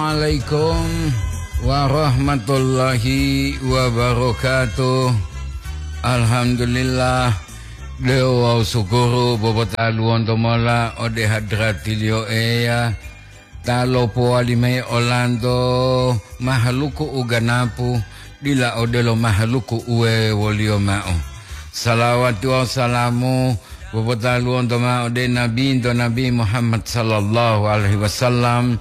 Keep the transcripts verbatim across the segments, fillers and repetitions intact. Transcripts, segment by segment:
Assalamualaikum warahmatullahi wabarakatuh. Alhamdulillah, dewo wawu sukuru popotaluwonto mola ode hadratiliyo Eya, ta lopowali mayi olanto mahaluku u ganapu, dila odelo mahaluku uwe woliyo ma'o. Salawati wawu salamu popotaluwonto ma'o ode Nabinto Nabi Muhammad sallallahu alaihi wasallam,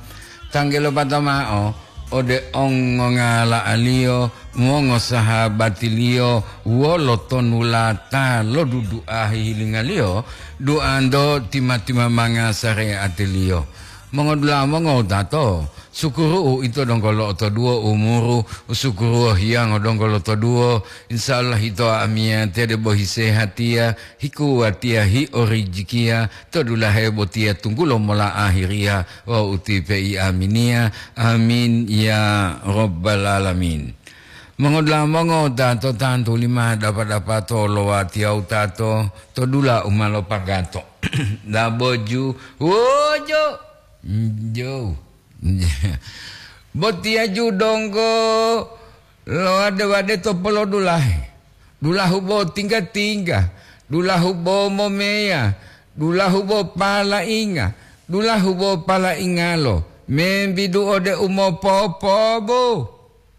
tanggelopata ma'o ode ongongala'aliyo, mongosahabatiliyo, wolo tonulata lo dudu'a hihilingaliyo, duanto tima-timamanga sare'atiliyo. Mongodula'a mongowutato, sukuru'u ito donggo lo'otoduwo umuru, sukuru'u hiyango donggo lotoduwo, insya Allah ito amiyatiya debo hisehatiya, hikuwatiya, hiorijikiya, to dulahe botiya tunggulo mola ahiriya wawu utipe i aminiya. Amin ya rabbal alamin. Mongodula'a mongowutato, tantu lima dapa-dapato lo watiya wutato to dula u ma lopagato. Daboju, wojo, njo. Botiya ju donggo lowade-wade to polodulahe. Dulahu bo tingga-tingga, dulahu bo momeya, dulahu bo palainga, dulahu bo palaingalo, membidu ode u mopopobu,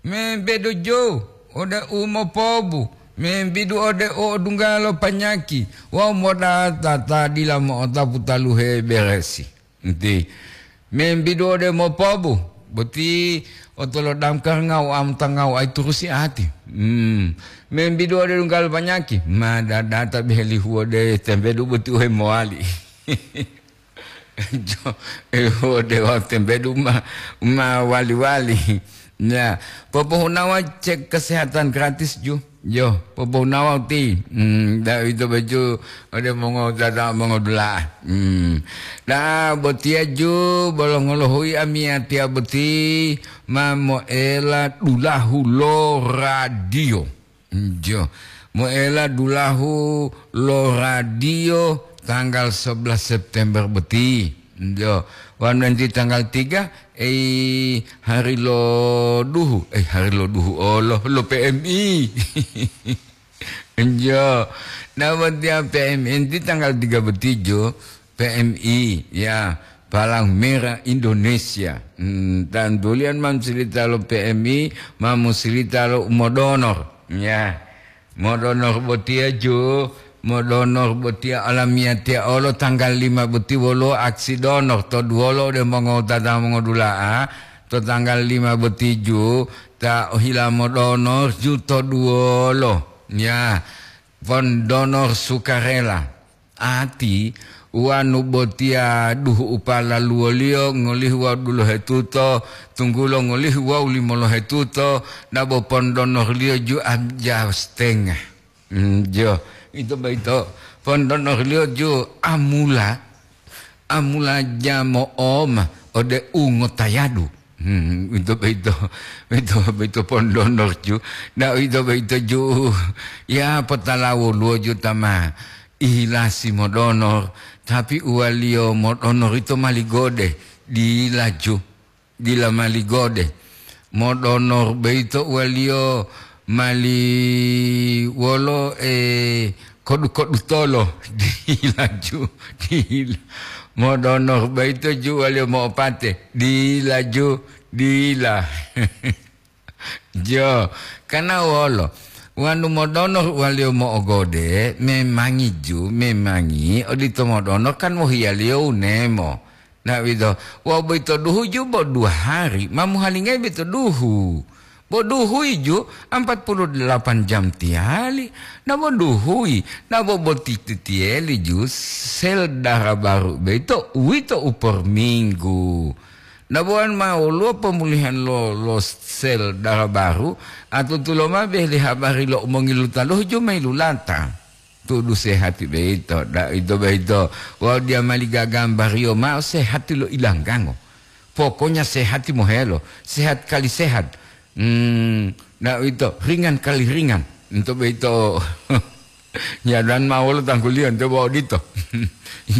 membedu ju ode u mopobu, membidu ode u odunggalo panyaki wawu modata ta dila mo'otapu taluhe beresi. Nti, membidu ode mopobu, boti otolo damkar ngau amta ngau ai turusi ati. Hmm. Membidu ode dunggal panyaki, ma dadata behelihu ode tembedu boti uhe mowali. Jo, eh, ode wau tembedu ma, ma wali-wali. Ya, popohunawa cek kesehatan gratis ju. Yo, popohunawa uti. Hmm, da ito baju ode mongo dada mongo dula. Hmm. Da botiya ju bolongolohui amiyatiya boti ma moela dulahu lo radio. Jo. Moela dulahu lo radio tanggal sebelas September boti. Jo. Wanu enti tanggal tiga, eh, hari lo duhu, eh, hari lo duhu, oh, lo, lo P M I. Jo. Nah, watiya P M I enti tanggal tiga boti jo, P M I, ya, Palang Merah Indonesia. Hmm, tantulian mam silita lo P M I, mam silita lo umodonor. Ya. Modonor botiya ju, modonor botiya olamiyatiya olo tanggal lima boti woluwo aksi donor to duwolo ode mongowutata mongodula'a, to tanggal lima boti ju ta ohila modonor ju to duwolo. Ya, pon donor sukarela. Ati, wanu botiya duhu upalaluwoliyo ngolihu wawu dulohetuto, tunggulo ngolihu wawu limolohetuto, dabo pondonorliyo ju amja setengah. Hmm, jo, ito boyito pondonorliyo ju amula, amula ja mo'oma ode ungotayadu. Hmm, ito boyito, ito boyito pondonor ju. Na ito boyito ju, ya potala woluwo ju tama. Ihilasi modonor, tapi uwaliyo modonor ito mali gode, dila ju, dila mali gode. Modonor boyito uwaliyo mali wolo, eh, kodu-kodu tolo, dila ju, dila. Modonor boyito ju uwaliyo mo'opate, dila ju, dila. Jo, kana wolo? Wanu modonor waliyo mo'ogode, memangi ju, memangi odito modonor kan wohiyaliyo wunemo. Na uwito, wawu boyito duhu ju bo dua hari, ma muhalingayi boyito duhu. Bo duhuyi ju empat puluh delapan jam tiyali. Na bo duhuyi, na bo boti titiyeli ju sel dara baru boyito, uwito u por minggu. Dabuwan ma woluwo pomulihan lo, lo sel dara baru, atutulo ma bele habari lo umongilu taluhu ju ma yilulata. Tudu sehati boyito, da ito boyito. Wawu diya mali gagambariyo ma'o sehati lo ilanggango. Pokoknya sehati mohelo, sehat kali sehat. Hmm, da ito ringan kali ringan. Ito boyito. Ya, dan ma wolo tangguliyo, nte bo odito.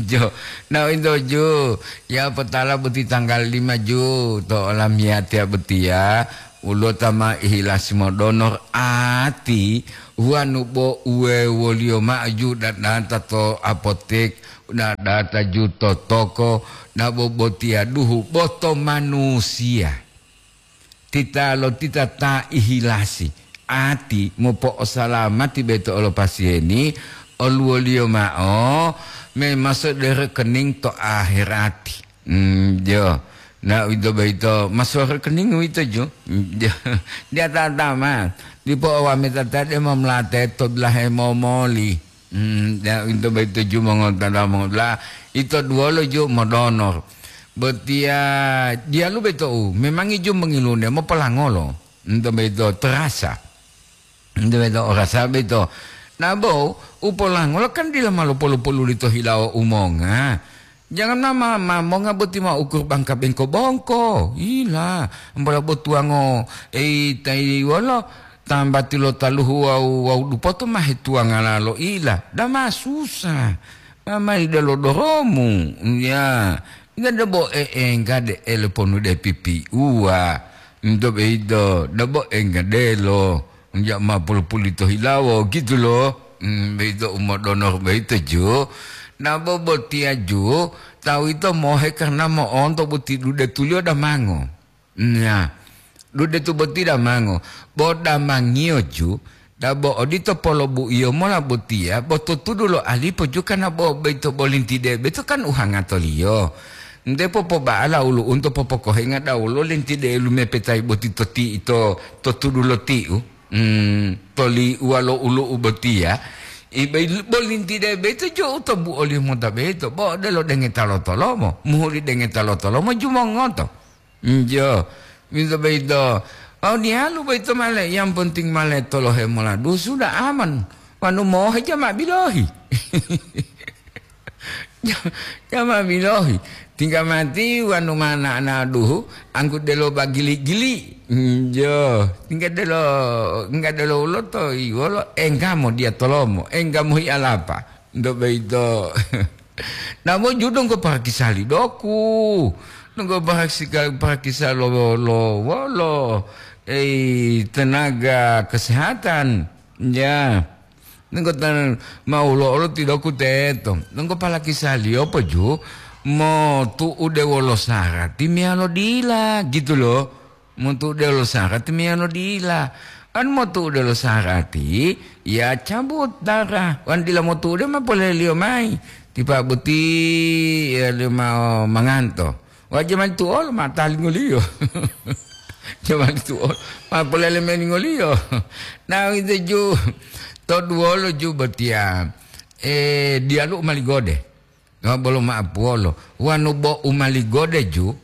Jo, na uwito ju, ya potala boti tanggal lima ju, to olamiyatiya botiya, ulota ma ihilasi modonor ati, wanu bo uwe woliyo ma'o ju dadata to apotek, dadata ju to toko, na bo botiya duhu boto manusiya. Titalotita ta ihilasi ati mopo'osalamati beto olo pasiyeni, oluwoliyo ma'o memaso de rekening to aherati. Mm, jo. Na uwito boyito maso rekening uwito ju. Mm, jo. Dia tata ma. Dipo owametata de momlate to bilahe momoli. Hmm, ya, ito boyito ju mongontala mongontala, ito duwolo ju modonor. Botiya diyalu boyito u, memangi ju mongilunde mopolangolo. Ito boyito terasa. Ito boyito orasa boyito. Nah, bo, u polangolo kan dila ma lopo-lopolu lito hilawo umonga. Jangan ma, ma, ma monga boti ma ukur bangka bengko bongko. Ila, ambola botuwango, ei, tai wolo, tambati lo taluhu wawu, wawu dupoto ma hetuwangala lo ila. Dama susa. Ma mayi delo doromu. Ya, enggak debo e, enggak de ele ponu de pipi uwa. Ento beito, debo enggak delo. Nja ma pulu-pulu to hilawo, gitu lo. Hmm, beito umodonor beito ju. Na bo botiya ju, tawu ito mohe karena mo'onto boti dude tuliyo damango. Nya, dude tu boti damango. Bo damangiyo ju, dabo odito polobu'iyo mola botiya, bo to tudu lo alipo ju karena bo beito bolintide, beito kan uhangatoliyo. Nte popoba'ala ulu'unto popokohenga dawolo lintide lumepetayi boti to ti ito to tudu lo tiu. Hmm, toli uwa lo ulu'u botiya, ibe bolintide beito jo u tobu oliyo mota beito, bo odelo dengeta lo tolomo, muhuli dengeta lo tolomo jumongoto. Njo, minto beito, wau diyalu boyito male, yang penting male tolohe moladu sudah aman. Wanu mohe jama bilohi. Jama bilohi, tingga mati wanu mana ana duhu, anggu delo bagili-gili. Njo, tingga delo, tingga delo uloto, iwolo, enggamo dia tolomo, enggamo hi alapa. Ndo beito. Namo ju donggo parakisali doku. Donggo parakisali, parakisali lo, lo, wolo, ei, tenaga kesehatan. Ya. Nenggo tan-, ma ulo-ulo tidoku teto. Nenggo palakisaliyo poju, motu'ude wolo sarati meyalo dila, gitu lo. Motu'ude wolo sarati meyalo dila. Kan motu'ude wolo sarati, ya cabut darah. Wan dila motu'ude ma poleliyo mayi. Tipa boti, ya, lima manganto. Wa jamani tu'olo ma talingoliyo. Jamani tu'olo ma polele meningoliyo. Na uwito ju, to duwolo ju botiya, eh, diyalu u maligode. Wa bolo ma'apuwolo. Wanu bo u maligode ju,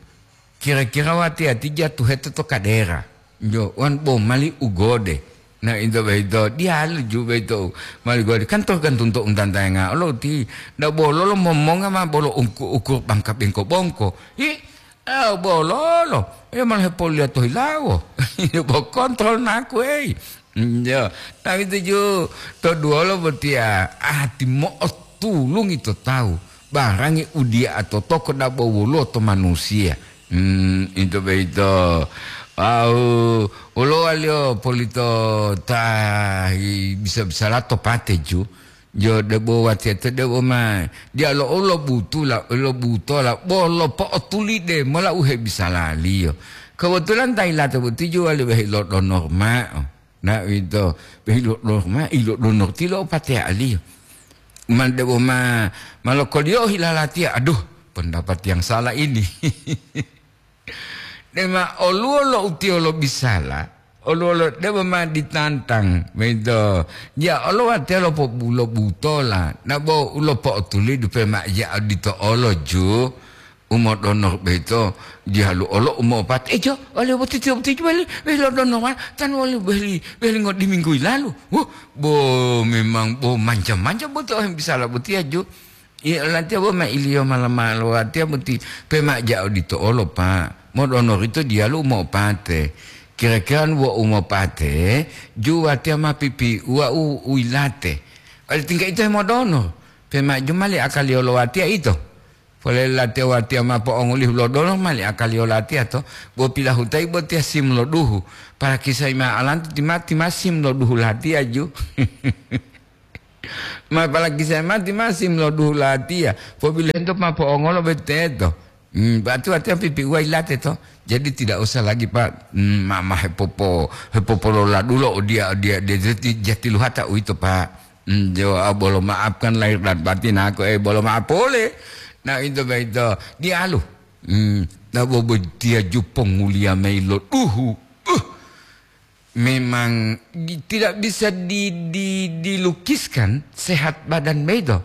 kira-kira wati-wati jatuhete to kadera. Jo, wan bo mali u gode. Na into boyito, diyalu ju boyito mali gode. Kan tergantung to untantayanga olo ti, nda bololo momonga ma bolo ungku-, ukur bangka bengko bongko. Hi, eh, bololo. Eh, malah hepoliya to hilawo. Bo kontrol naku, ei. Jo, tapi tuju to duwolo botiya, ati mo'otulungi to tawu. Barangi udiya to toko dabo woluwo to manusiya. Hmm, into boyito. Wawu, woluwo waliyo polito ta hi-, bisa-bisala to pate ju. Jo debo watiya to debo ma diya lo, lo butula, lo butola, bolo po'otulide mola u hebisalaliyo. Kebetulan ta yilate boti ju wali wehi lo donor ma'o. Na uwito, ilo'odonor ma, ilo'odonor tilo o pateya'aliyo. Man debo ma, ma lokoliyohi lalatiya, aduh, pendapat yang salah ini. Dema oluwo lo utiyo lobisala, oluwo lo debo ma ditantang, boyito. Ya Allah, watiya lopobulo butola, nabo u lopo'otuli dupe ma ya odito olo ju. Umodonor boyito diyalu olo umopate, "Ejo, wali boti tiyo boti wali, wali lodonor ma, tan wali wali, wali ngodiminggu yilalu." Wuh, bo memang bo manja-manja boti ohem bisala botiya ju. Iya, latiya bo ma iliyo mala-malo watiya boti pema ja odito olo, Pak. Modonor ito diyalu umopate. Kira-kira wo umopate, ju watiya ma pipi uwa u, u yilate. Oli tingga ito hemodonor, pe maju mali akaliyo lo watiya ito. Polele latiya watiya ma po'ongulihu lo donor mali akaliyo latiya to, bo pilahutai botiya sim lo duhu. Palakisai ma alantu tima, tima sim lo duhu latiya ju. Ma palakisai ma tima sim lo duhu latiya. Pobilento ma po'ongolo beteto. Hmm, berarti watiya pipiuwa yilate to. Jadi tidak usah lagi, Pak, hmm, ma, ma hepopo-, hepopololadulo odiya, odiya, odiya, jati, jati luhata uwito, Pak. Hmm, jo, ah, bolo maafkan lahir dan batin aku, eh, bolo maaf pole. Nah, itu begitu. Dialu. Hmm, nah, bobo dia ju ponguliya mayi lo duhu. Uh, memang di-, tidak bisa di-, di-, dilukiskan sehat badan beto.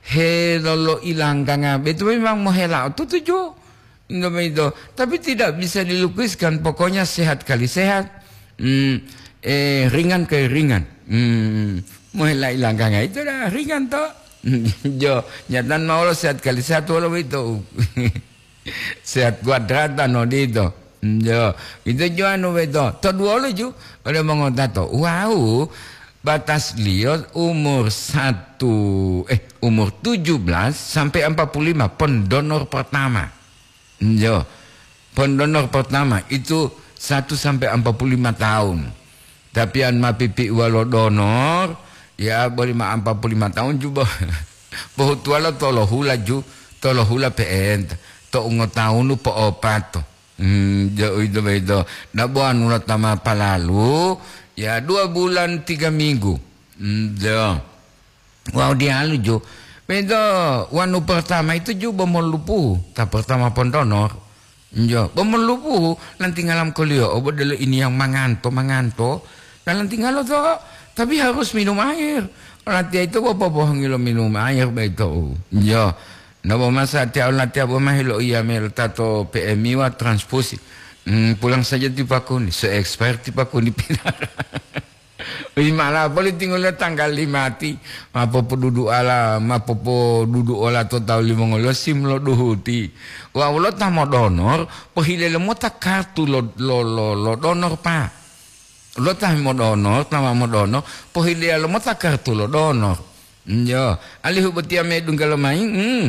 Helolo ilangganga beto memang mohela tutuju. Indomito. Tapi tidak bisa dilukiskan, pokoknya sehat kali sehat. Hmm, eh, ringan kali ringan. Hmm, mohela ilangganga itu dah ringan to. Jo, nyatan mawolo sehat kali sehat wolo itu. Sehat kuadratan odito. Jo, itu jo anu beto. To duolo ju, ode mongotato. Wow, batasliyo umur satu, eh, umur tujuh belas sampai empat puluh lima, pendonor pertama. Jo, pendonor pertama itu satu sampai empat puluh lima tahun. Tapi an ma pipiuwa lo donor, ya, boli ma empat puluh lima tahun ju bo-, bohutuwalo tolohula ju, tolohula pe'enta, to ungotawunu po'opato. Hmm, jo, uwito boyito. Dabo anu lo ta ma palalu, ya, dua bulan tiga minggu. Hmm, jo. Wawu diyalu ju. Boyito wanu pertama itu ju bo molupuhu, ta pertama pendonor. Jo, bo molupuhu, lantingala mokoliyo, obo delo ini yang manganto, manganto. Dan lantingalo to, tapi harus minum air. Latiya itu bo popohongi lo minum air boyito. Jo. Nabo masa tiya latiya bo mahi lo iya melo tato P M I wa transfusi. Hmm, pulang saja ti pakuni, se expire ti pakuni pinara. Wi mala poli tingoliyo tanggal lima ti, ma popoduduala, ma popoduduola to tawu limongoliyo sim lo duhuti. Wawu lo ta modonor, pohile lomota kartu lo, lo, lo, lo donor, Pak. Lo ta modonor, ta ma modonor, pohileya lomota kartu lo donor. Njo, alihu botiya medungga lomayi, hmm.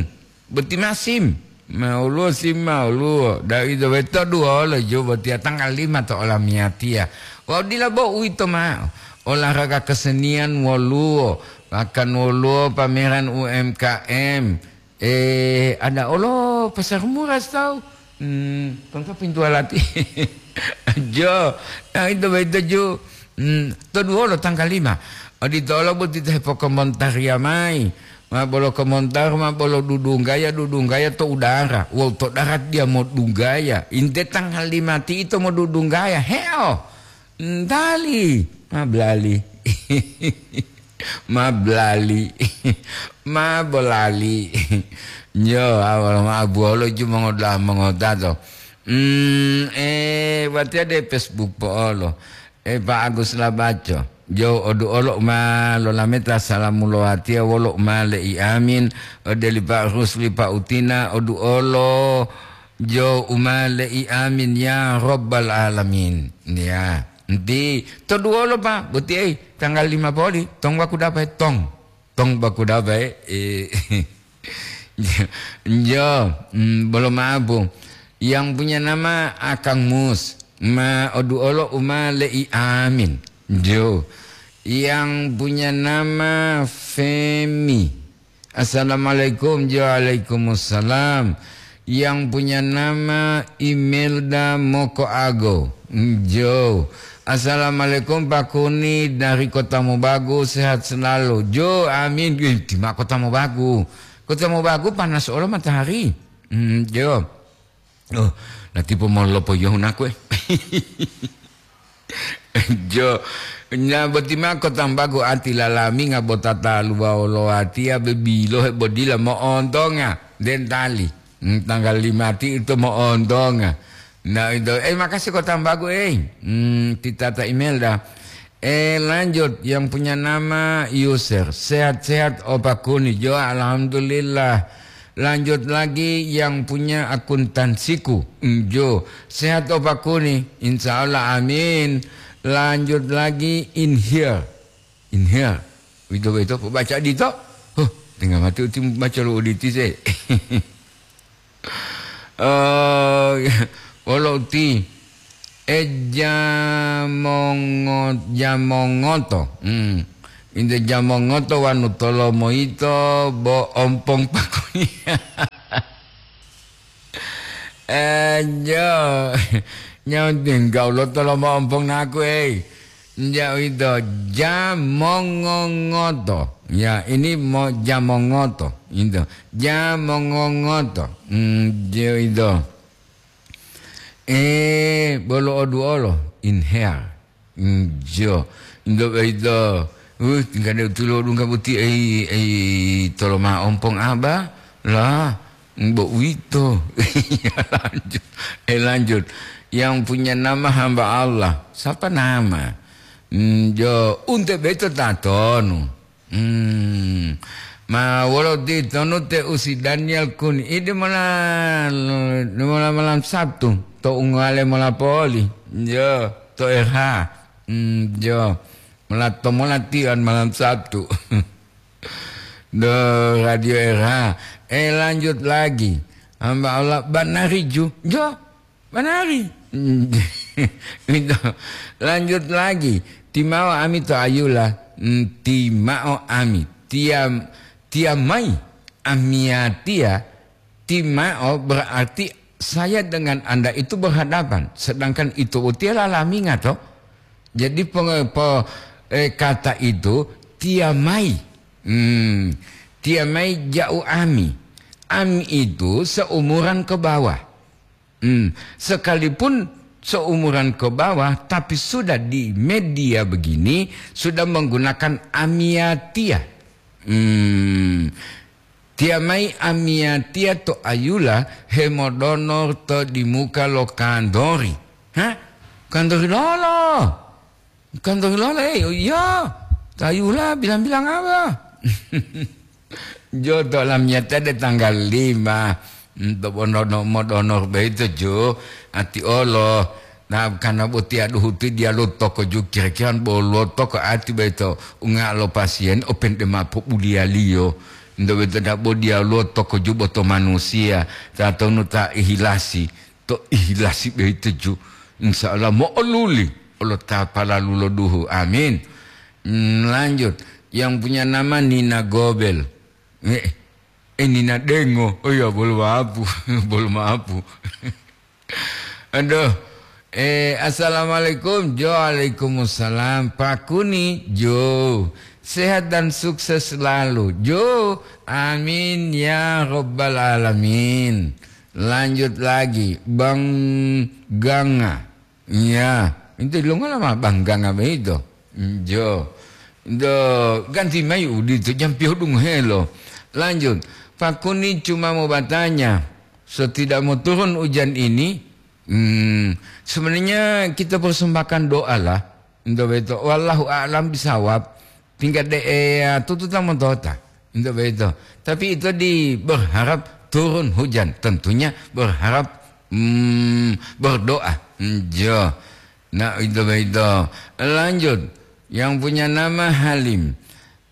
Boti ma sim, ma woluwo sim ma woluwo, da'a uwito boyito duwolo ju botiya tanggal lima to olamiyatiya. Wawu dila bo uwito ma'o, olahraga kesenian woluwo, bahkan woluwo pameran U M K M. Eh, ada olo pasar murah tawu. Hmm, tongko pintu alati. Jo, da'a uwito boyito ju. Hmm, to duwolo tanggal lima. Odito olo boti to hepokomontariya mayi. Ma bolo komontar, ma bolo dudunggaya, dudunggaya to udara. Wawu to darat diya modunggaya. Inte tanggal lima ti ito modudunggaya. Heo! Ntali. Ma blali. Ma blali. Ma bolali. Njo, awal ma abuwolo ju mongoda-, mongodato. Hmm, eh, watiya de Facebook po'olo. Eh, Pak Agus Labaco, jo odu'olo u ma lolameta salamu lo watiya wolo u ma le'i amin, ode li Pak Rusli, Pak Utina, odu'olo jo u ma le'i amin, ya Rabbal Alamin. Ya, enti to duwolo, Pak, boti ei, tanggal lima poli, tong waku dapae, tong. Tong baku dapae, eh, jo, mm, bolo mabu. Yang punya nama Akang Mus, ma odu'olo u ma le'i amin. Jo. Yang punya nama Femi. Assalamualaikum, jo, waalaikumsalam. Yang punya nama Imelda Mokoago. Jo. Assalamualaikum, Pak Kuni dari Kota Mobagu, sehat selalu. Jo, amin. Ih, tima Kota Mobagu. Kota Mobagu panas olo matahari. Hmm, jo. Oh, latipo molopo yohu nakue. Jo, nya boti mako tambagu ati lalaminga botata luwa wolo watiya be bilohe bodila mo'ontonga dentali. Hmm, tanggal lima ti ito mo'ontonga. Nah, itu, eh, makasih ko tambagu, eh. Hmm, titata email dah. Eh, lanjut, yang punya nama user. Sehat-sehat, Opa Kuni. Jo, alhamdulillah. Lanjut lagi, yang punya akuntansiku. Mm, jo, sehat, Opa Kuni. Insya Allah, amin. Lanjut lagi, in here. In here. Uwito boyito pobaca odito. Huh, dengga mati uti baca lo oditi se. Eh, wolo uti, e jamongo-, jamongoto. Hmm. Inte jamongoto wanu tolomo yito bo ompong pakuni. Eh, jo. Nyawa tinggal lo tolomo ompong naku, eh. Nja uwito, jamongongoto. Ya, ini mo jamongoto. Ito, jamongongoto. Hmm, jo ito. Eh, bolo oduolo, inhale. Hmm, jo. Ito, ito. Uh, tingkade utulo dungga buti, eh, eh, toloma ompong aba. Lah, bo uwito. Ya, lanjut. Eh, lanjut. Yang punya nama hamba Allah. Siapa nama? Hmm, jo, unte beto tatonu. Hmm. Ma wolo titonu te usi Daniel Kun. Ide mola, mola malam Sabtu. To ungale mola poli. Jo, to R H. Hmm, jo. Mola to mola tian malam Sabtu. Do Radio R H. Eh, lanjut lagi. Hamba Allah banari ju. Jo, banari. Gitu. Lanjut lagi. Timao ami to ayula. Mm, timao ami. Tiam, tiamai. Amiatia. Timao berarti saya dengan Anda itu berhadapan. Sedangkan itu utia lalaminga to. Jadi penge-, po-, eh, kata itu tiamai. Hmm, tiamai ja'u ami. Ami itu seumuran ke bawah. Hmm, sekalipun seumuran ke bawah, tapi sudah di media begini, sudah menggunakan amiatia. Hmm, tiamai amiatia to ayula hemodonor to dimuka lo kantori. Hah? Kantori lolo? Kantori lolo, eh, oh iya. Tayula bilang-bilang apa? Jodo lamiyata de tanggal lima. Untuk bonono modonor beito ju. Ati olo. Nah, karena boti aduh huti dia lo toko ju kira-kira bolo toko ati beito. Unga lo pasien open de mapo bulialiyo. Ndo beito da bo dia lo toko ju boto manusia. Tatonu ta ihilasi. To ihilasi beito ju. Insya Allah mo'oluli. Olo ta palalu lo duhu. Amin. Hmm, lanjut. Yang punya nama Nina Gobel. Eh, eh, Nina Dengo. Oh ya, bolo maapu. Bolo maapu. Aduh. Eh, assalamualaikum. Jo, waalaikumsalam. Pak Kuni, Jo. Sehat dan sukses selalu. Jo, amin ya rabbal alamin. Lanjut lagi. Bang Ganga. Iya, itu lo ngala ma bangga ngabe itu. Jo. Do, ganti mai udito, jampi hodung helo. Lanjut, Pak Kuni cuma mau bertanya, setidak mau turun hujan ini, hmm, sebenarnya kita persembahkan doa lah. Ndo beto, wallahu a'lam bisawab. Tingkat de, eh, tututa montota. Ndo beto. Tapi itu di berharap turun hujan. Tentunya berharap, hmm, berdoa. Hmm, jo. Nah, itu begitu. Lanjut, yang punya nama Halim.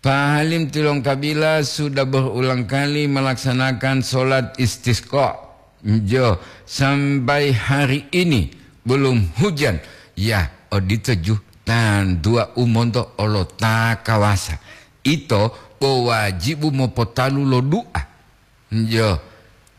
Pak Halim Tilongkabila sudah berulang kali melaksanakan sholat istisqa. Jo, sampai hari ini belum hujan. Ya, odito ju tan dua umonto olo ta kawasa. Ito bo wajibu mopotalu lo du'a. Jo.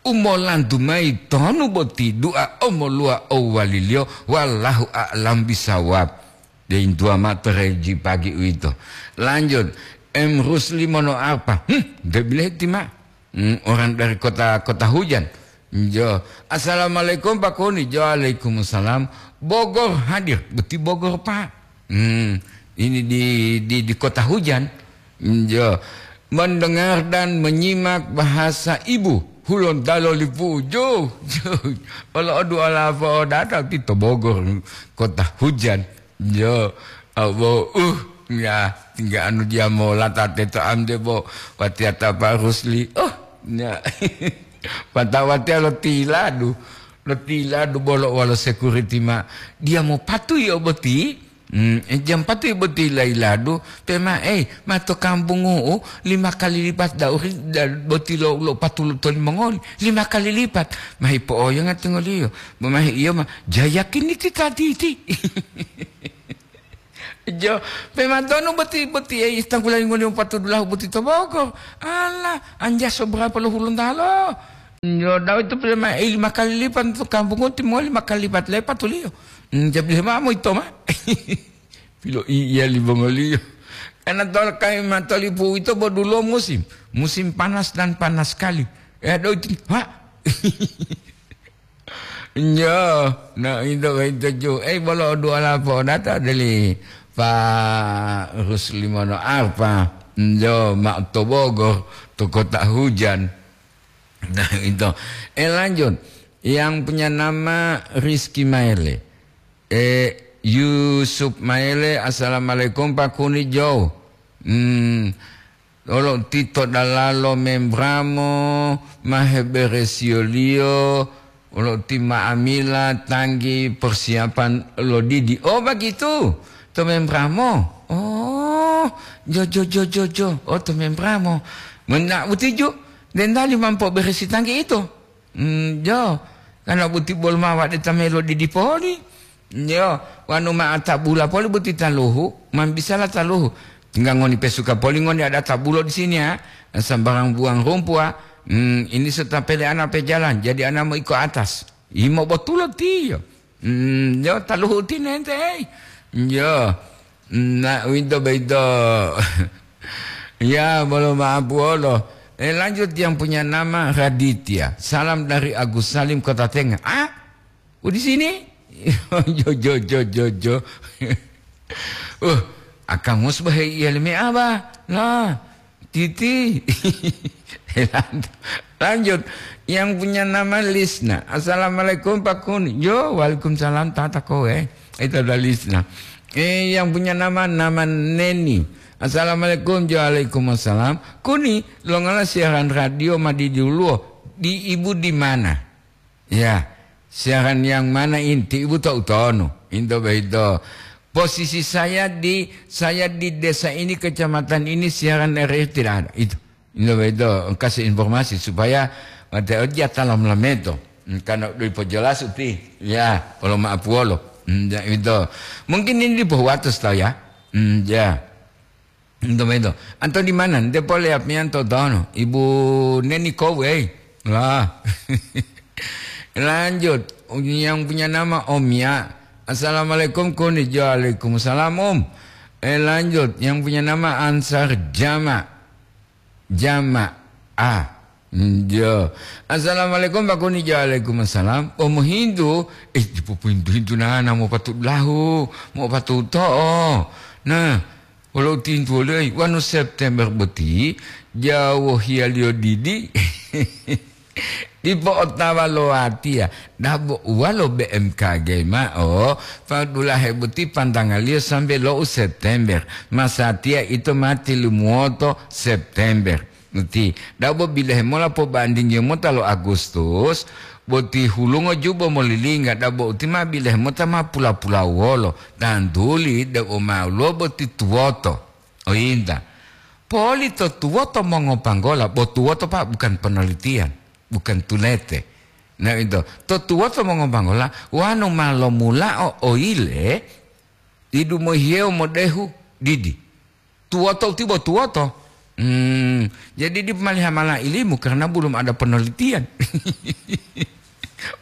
Umolantu mayi tonu boti du'a omoluwa owaliliyo, wallahu a'lam bisawab. Deintuwa ma'o to reji pagi uwito. Lanjut, M Rusli mono apa? Hmm, de bileheti ma. Hmm, orang dari kota, kota hujan. Jo. Assalamualaikum Pak Kuni. Jo, waalaikumsalam. Bogor hadir. Boti Bogor, Pak. Hmm, ini di, di, di kota hujan. Jo. Mendengar dan menyimak bahasa ibu. Hulontalo lipu. Jo, jo. Olo odu ala apa odata ti to Bogor, kota hujan. Jo. Abo, uh, ya, tingga anu dia mola tate to amde bo. Watiata Pak Rusli. Oh, ya. Pata watia lo tiladu. Lo tiladu bolo walo security ma. Dia mau patuhi oboti. Hmm, eh, jam patu boti lailadu, pe ma, eh, ma to kampungu'u lima kali lipat dauri da-, boti lo, lo patulo tolimongoli, lima kali lipat. Ma hipo'oyonga tingoliyo, ma, ma iyo ma, jayakini ti taditi. Jo, pe ma tonu boti, boti, eh, istanggulani ngoli patudulahu boti to Bogor. Ala, anjaso berapa lo hulontalo? Jo, dawa itu pe ma, eh, lima kali lipat to kampungu'u timongoli lima kali lipat le patuliyo. Hmm, jabi ma mo ito ma. Piloiya limongoliyo. Karena tol-, kami matolipu ito bo dulo musim. Musim panas dan panas sekali. Eh, do iti, ha? Njo, na ito, ito ju. Eh, bolo dua lapo data deli Pak Ruslimono Arfa. Njo, mak to Bogor, to kota hujan. Nah, itu. Eh, lanjut. Yang punya nama Rizky Maele. Eh, Yusuf Maele, "Assalamualaikum, Pak Kuni Joe." Hmm, olo tito dalalo membramo, maheberesioliyo, olo ti ma'amila tanggi persiapan lo didi. Oh, begitu. To membramo. Oh, jo, jo, jo, jo, jo. Oh, to membramo. Mena utiju, dendali mampo beresi tanggi itu. Mm, jo, karena buti bolo ma wa'de ta melo didi poli. Jo, wanu ma atabula poli buti taluhu, man bisala taluhu. Tinggal ngoni pesuka poli ngoni ada tabulo di sini ya. Sembarang buang rumput, ah. Hmm, ini serta pele anak pejalan, jadi anak mau ikut atas. Imo botulo tiyo. Hmm, jo, taluhu tinente, eh. Jo. Nah, winto beito. Ya, bolo maaf wolo. Eh, lanjut yang punya nama Raditya. Salam dari Agus Salim Kota Tengah. Ah, oh, di sini? Jo, jo, jo, jo, jo. Uh, Akang Mus bahai iya leme aba. Lah, Titi. Lanjut. Yang punya nama Lisna. "Assalamualaikum, Pak Kuni." Yo, waalaikumsalam, tata kowe. Itu ada Lisna. Eh, yang punya nama, nama Neni. "Assalamualaikum." Yo, waalaikumsalam. "Kuni, longala siaran radio ma di duluwo? Di ibu di mana?" Ya, siaran yang mana inti ibu tahu tono. Into beito. Posisi saya di, saya di desa ini, kecamatan ini, siaran R R I tidak ada. Itu. Into beito, kasih informasi supaya mate oja talam lameto. Karena diperjelas uti. Ya, kalau maaf wolo. Hmm, ya, itu. Mungkin ini di Pohuwatus tahu ya. Hmm, ya. Ento mento. Anto di mana? Nte pole apianto tono. Ibu Neni Kowe. Lah. Lanjut. Yang punya nama Omia. "Assalamualaikum, Kuni." Waalaikumsalam, Om. Eh, lanjut. Yang punya nama Ansar Jama. Jama. Ah. Jo. "Assalamualaikum, Pak Kuni." Jo, waalaikumsalam. Oh, mohintu. Eh, dipo pohintu-hintu nana, mo patu lahu, mo patu to'o. Nah, wolo tintu wolo, eh, wanu September boti, jawo hiyaliyo didi. Dipo otawa lo watiya, dabo uwalo B M K G ma'o, padulahe boti pantangaliyo sambe lo u September. Masatiya ito ma tilumuwoto September. Uti, dabo bilahe mola pobandingiyo mota lo Agustus, boti hulungo jubo molilingga, dabo uti ma bilahe mota ma pula-pula wolo, tantuli dabo ma woluwo boti tuwoto. Oyinta, poli to tuwoto mongopanggola, bo tuwoto, Pak, bukan penelitian, bukan tulete. Nah, itu, to tuwoto mongopanggola, wanu ma lomulao oyile, idu mohiyewo modehu didi. Tuwoto tibo tuwoto. Hmm, jadi dipo maliha mala ilimu karena belum ada penelitian.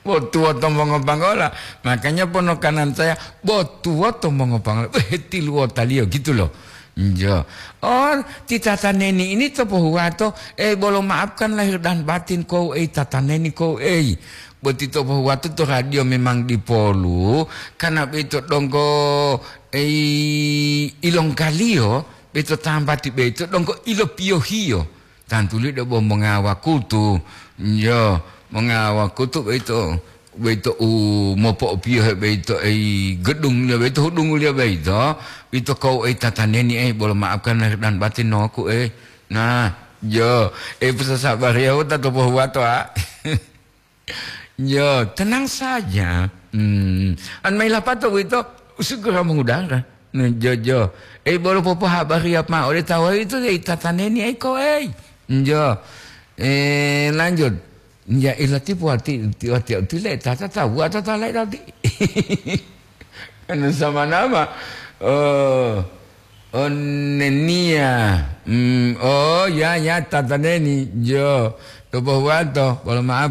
Bo tuwoto mongopanggola. Makanya ponokanan saya, bo tuwoto mongopanggola. Weh, tiluwotaliyo gitu loh. Jo. Oh, ti tata neni ini to pohuwato. Eh, bolo maafkan lahir dan batin kou, eh, tata neni kou, eh. Boti to pohuwato to radio memang dipolu. Karena beito donggo, eh, ilongkaliyo. Beito tambati beito donggo ilopiyohiyo. Tantuli debo mongawa kutu. Yo, mongawa kutu beito, beito u mopo'opiyohe beito ei gedung liyo beito, hudungu liyo beito. Ito kau ei tataneni ei, bolo maafkan lahir dan batin noku ei. Nah, yo, eh, pusasabariya wota to pohuwato, a. Yo, tenang saja. Hmm. An maila pato wito, segera mengudara. Njo, njo. Ei, bolo popohabariya mao ode tawu ito, ei, tataneni, ei, ko, ei. Njo. Eh, lanjut. Ya, ilati po wati, ti-, wati, wati le, tata tawu, tata lain tadi. Anu sama nama. Oh, oh, nenia. Hmm, oh, ya, ya, tataneni. Jo. Topo huwanto, bolo maaf.